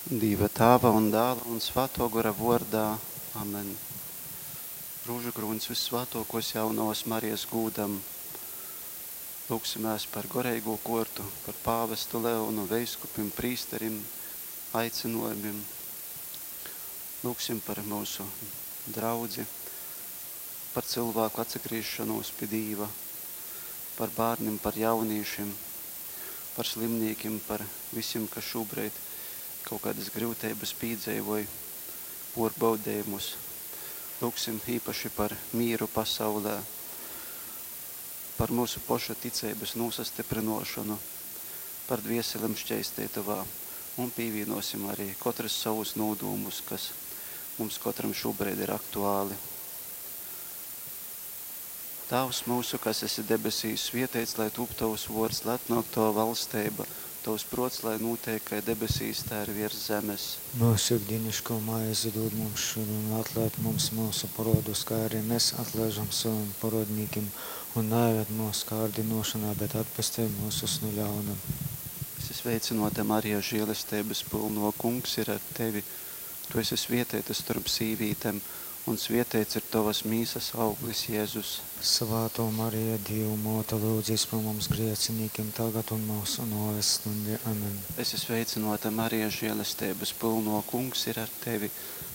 Dīva Tāva un Dāla un Svātō Gora vōrdā. Amen. Rūžukrūņs vyssvātōkōs jaunovas Marijas gūdam. Lūgsimēs par goreigū kōrtu, par pāvestu Leonu, veiskupim, prīsterim, aicinojumim. Lūgsim par mūsu draudzi, par cilvēku atsagriešanos pie Dīva, par bērniem, par jauniešiem, par slimniekiem, par visiem, kas šobrīd kaut kādas grūtības piedzīvoja, pārbaudījumus. Lūgsim īpaši par mīru pasaulē, par mūsu pošu ticības nosastiprinošanu, par dvieselem šķeistītavā un pievienosim arī katrs savus nodūmus, kas mums katram šobrīd ir aktuāli. Tēvs mūsu, kas esi debesīs, svietēts, lai tūp tavs vārds, lai atnāk tava valstība, tavs prots, lai notiek, kā debesīs, tā ir virs zemes. Mūsu ikdienišķo maizi dod mums šodien, un atlaid mums mūsu parodus, kā arī mēs atlaižam saviem parodnīkiem, un neieved mūsu kārdinošanā, bet atpestī mūsus no ļauna. Esi sveicināta, Marija, žēlestības pilno, kungs ir ar tevi. Tu esi svietēta starp sīvītēm, un svietēts ir tavas mīsas auglis, Jēzus. Svētā Marija, Dieva māte, lūdzies par mums grēciniekiem tagad un mūsu nāves stundī. Amen. Esi sveicināta, Marija, žēlestības pilno, kungs ir ar tevi.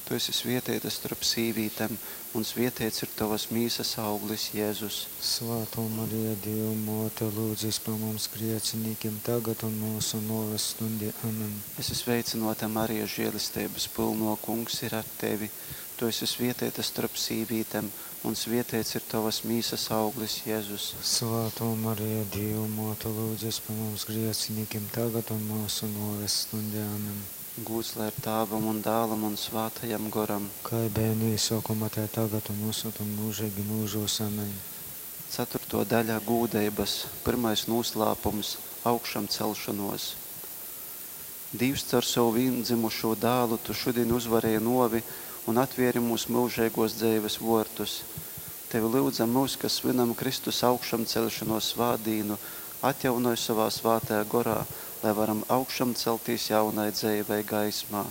Tu esi svietēta starp sīvītēm, un svietēts ir tavas mīsas auglis, Jēzus. Svētā Marija, Dieva māte, lūdzies par mums grēciniekiem tagad un mūsu nāves stundī. Amen. Esi sveicināta, Marija, žēlestības pilno, kungs ir ar tevi. Tu esi svietēta starp sīvītēm, un svietēts ir tavas mīsas auglis, Jēzus. Svētā Marija, Dieva māte, lūdzies par mums grēciniekiem tagad un mūsu nāves stundī. Amen. Gūts lai ir Tēvam un Dēlam un Svētajam Goram. Kā bija no iesākuma, tā tagad un visur un mūžīgi mūžos. Amen. Ceturto daļa gūdeibas, pirmais noslēpums – augšām celšanos. Dievs caur savu viendzimušo dēlu tu šodien uzvarēji novi un atvieri mūsu mūžīgos dzīves vortus. Tevi lūdzam mūs, kas svinam Kristus augšām celšanos svātdīnu, atjaunoj savā svētajā gorā, lai varam augšām celtīs jaunai dzīvei gaismā.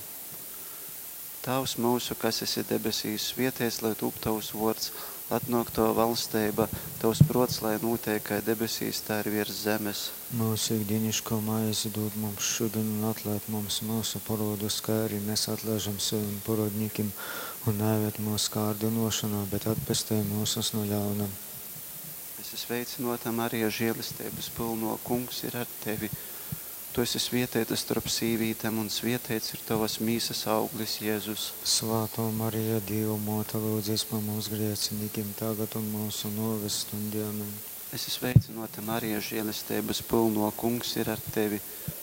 Tēvs mūsu, kas esi debesīs, svietēts, lai tūp tavs vārds, atnāk tava valstība, tavs prots, lai notiek kā debesīs, tā ir virs zemes. Mūsu ikdienišķo maizi dod mums šodien un atlaid mums mūsu parodus, kā arī mēs atlaižam saviem parodnīkiem, un neieved mūsu kārdinošanā, bet atpestī mūsus no ļauna. Esi sveicināta, Marija, žēlestības pilno, kungs ir ar tevi. Tu esi svietēta starp sīvītēm, un svietēts ir tavas mīsas auglis, Jēzus. Svētā Marija, Dieva māte, lūdzies par mums grēciniekiem tagad un mūsu nāves stundī. Amen. Esi sveicināta, Marija, žēlestības pilno, kungs ir ar tevi.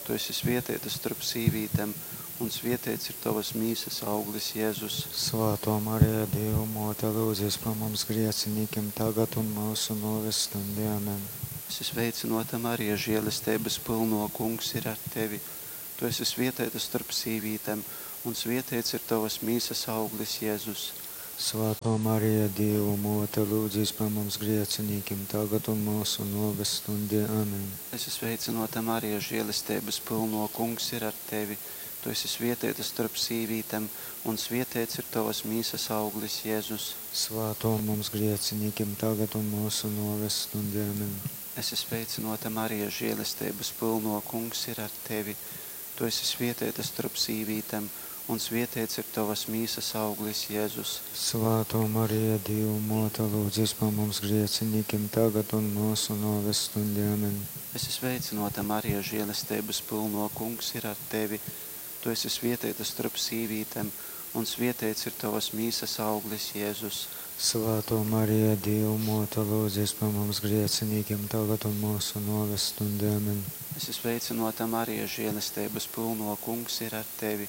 Tu esi svietēta starp sīvītēm, un svietēts ir tavas mīsas auglis, Jēzus. Svētā Marija, Dieva māte, lūdzies par mums grēciniekiem tagad un mūsu nāves stundī. Amen. Esi sveicināta, Marija, žēlestības pilno, kungs ir ar tevi. Tu esi svietēta starp sīvītēm, un svietēts ir tavas mīsas auglis, Jēzus. Svētā Marija, Dieva māte, lūdzies par mums grēciniekiem tagad un mūsu nāves stundī. Amen. Esi sveicināta, Marija, žēlestības pilno, kungs ir ar tevi. Tu esi svietēta starp sīvītēm, un svietēts ir tavas mīsas auglis, Jēzus. Svētā mums grēciniekiem tagad un mūsu nāves stundī. Amen. Esi sveicināta, Marija, žēlestības pilno, kungs ir ar tevi. Tu esi svietēta starp sīvītēm, un svietēts ir tavas mīsas auglis, Jēzus. Svētā Marija, Dieva māte, lūdzies par mums grēciniekiem tagad un mūsu nāves stundī. Amen. Esi sveicināta, Marija, žēlestības pilno, kungs ir ar tevi. Tu esi svietēta starp sīvītēm, un svietēts ir tavas mīsas auglis, Jēzus. Svētā Marija, Dieva māte, lūdzies par mums grēciniekiem tagad un mūsu nāves stundī. Amen. Esi sveicināta, Marija, žēlestības pilno, kungs ir ar tevi.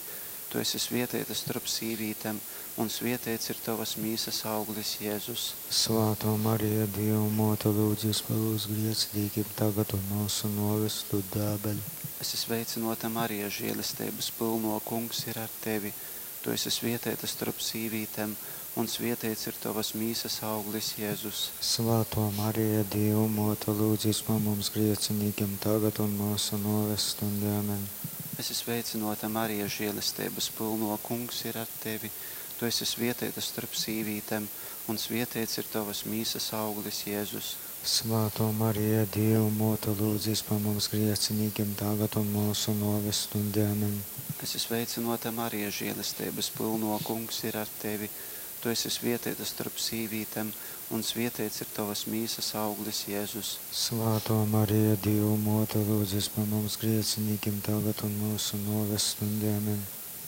Tu esi svietēta starp sīvītēm, un svietēts ir tavas mīsas auglis, Jēzus. Svētā Marija, Dieva māte, lūdzies par mums grēciniekiem tagad un mūsu nāves stundī. Amen. Esi sveicināta, Marija, žēlestības pilno, kungs ir ar tevi. Tu esi svietēta starp sīvītēm, un svietēts ir tavas mīsas auglis, Jēzus. Svētā Marija, Dieva māte, lūdzies par mums grēciniekiem tagad un mūsu nāves stundī. Amen. Esi sveicynōta, Marija, želesteibas pylnō, Kungs ir ar tevi. Tu esi svietēta starp sīvītēm, un svieteits ir tovas mīsas auglis, Jēzus. Svātō Marija, Dīva Mōte, lūdzīs par mums grēcinīkim, tagad un mūsu nōves stundē. Amen. Esi sveicynōta, Marija, želesteibas pylnō, Kungs ir ar tevi. Tu esi svietēta starp sīvītēm, un svieteits ir tovas mīsas auglis, Jēzus. Svātō Marija, Dīva Mōte, lūdzīs par mums grēcinīkim, tagad un mūsu nōves stundē. Amen.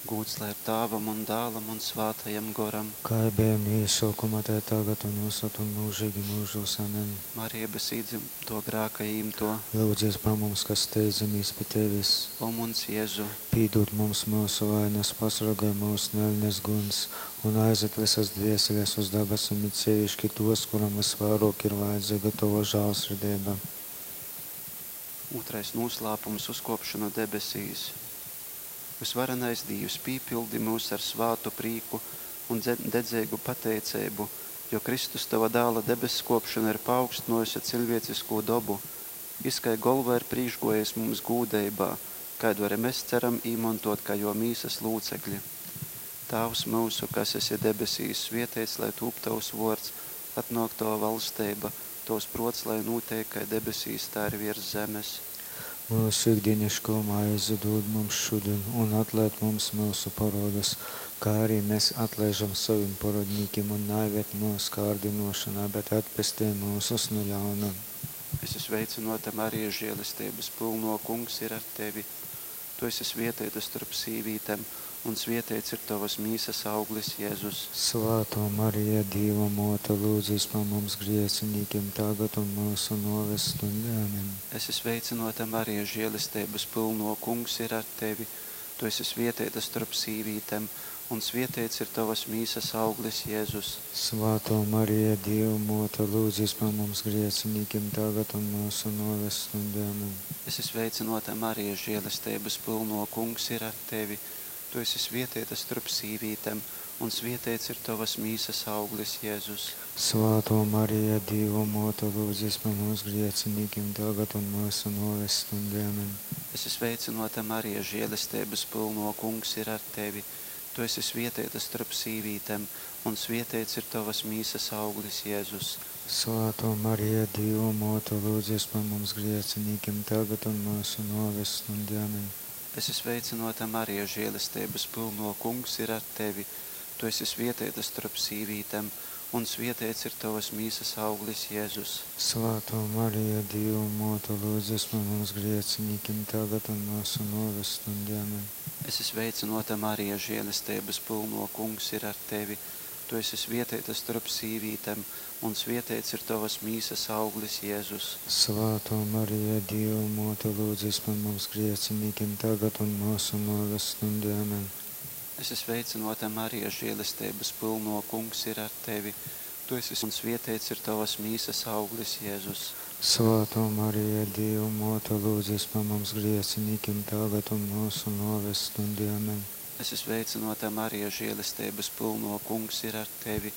Gūds lai ir Tāvam un Dālam un Svātajam Goram. Kā bija no iesākuma, tā tagad un visad un mūžīgi mūžos. Amen. Marija bez īdzimto grāka īmto. Lūdzies par mums, kas steidzamies pie tevis. O muns Jēzu, Pīdod mums mūsu vainas, pasargāj mūs no eļnes guns un aizved visas dvēseles uz dabasim, it sevišķi tos, kuram visvairāk ir vajadzīga tava žēlsirdība. Otrais noslēpums uzkopšana debesīs. Visvarenais Dievs, pīpildi mūs ar svātu prīku un dedzīgu pateicību, jo Kristus tava dāla debeskopšana ir paaugstinājusi cilvēcisko dobu. Jis kai golva ir priekšgojis mums gūdeibā, kādu arī mēs ceram īmantot kā jo mīsas lūcekļi. Tāvs mūsu, kas esi debesīs, svietēts, lai tūp tavs vārds, atnāk tava valstība, tavs prots, lai notiek, kā debesīs, tā arī virs zemes. Mūsu ikdienišķo maizi dod mums šodien, un atlaid mums mūsu parodus, kā arī mēs atlaižam saviem parodnīkiem, un neieved mūsu kārdinošanā, bet atpestī mūsus no ļauna. Esi sveicināta, Marija, žēlestības pilno, Kungs ir ar tevi. Tu esi svietēta starp sīvītēm, un svietēts ir tavas mīsas auglis, Jēzus. Svātō Marija, Dīva Mōte, lūdzīs par mums grēcinīkiem, tagad un mūsu nōves stundē. Amen. Esi sveicināta, Marija, žēlestības pilno, Kungs ir ar tevi. Tu esi svietēta starp sīvītēm, un svietēts ir tavas mīsas auglis, Jēzus. Svātō Marija, Dīva Mōte, lūdzīs par mums grēcinīkiem, tagad un mūsu nōves stundē. Amen. Esi sveicināta, Marija, žēlestības pilno, Kungs ir ar tevi. Tu esi svietēta starp sīvītēm, un svietēts ir tavas mīsas auglis, Jēzus. Svātō Marija, Dīva Mōte, lūdzīs par mums grēcinīkiem, tagad un mūsu nōves stundē. Amen. Esi sveicināta, Marija, žēlestības pilno, Kungs ir ar tevi. Tu esi svietēta starp sīvītēm, un svietēts ir tavas mīsas auglis, Jēzus. Svātō Marija, Dīva Mōte, lūdzies par mums grēcinīkiem, tagad un mūsu nōves stundē. Amen. Esi sveicināta, Marija, žēlestības pilno, Kungs ir ar tevi. Tu esi svietēta starp sīvītēm, un svietēts ir tavas mīsas auglis, Jēzus. Svātō Marija, Dīva Mōte, lūdzies par mums grēcinīkiem, tagad un mūsu nōves stundē. Amen. Esi sveicināta, Marija, žēlestības pilno, Kungs ir ar tevi. Tu esi svietēta starp sīvītēm, un svietēts ir tavas mīsas auglis, Jēzus. Svātō Marija, Dīva Mōte, lūdzies par mums grēcinīkiem, tagad un mūsu nōves stundē. Amen. Esi sveicināta, Marija, žēlestības pilno, Kungs ir ar tevi. Tu esi un svietēts ir tavas mīsas auglis, Jēzus. Svātō Marija, Dīva Mōte, lūdzies par mums grēcinīkiem, tagad un mūsu nōves stundē. Amen. Esi sveicināta, Marija, žēlestības pilno, Kungs ir ar tevi.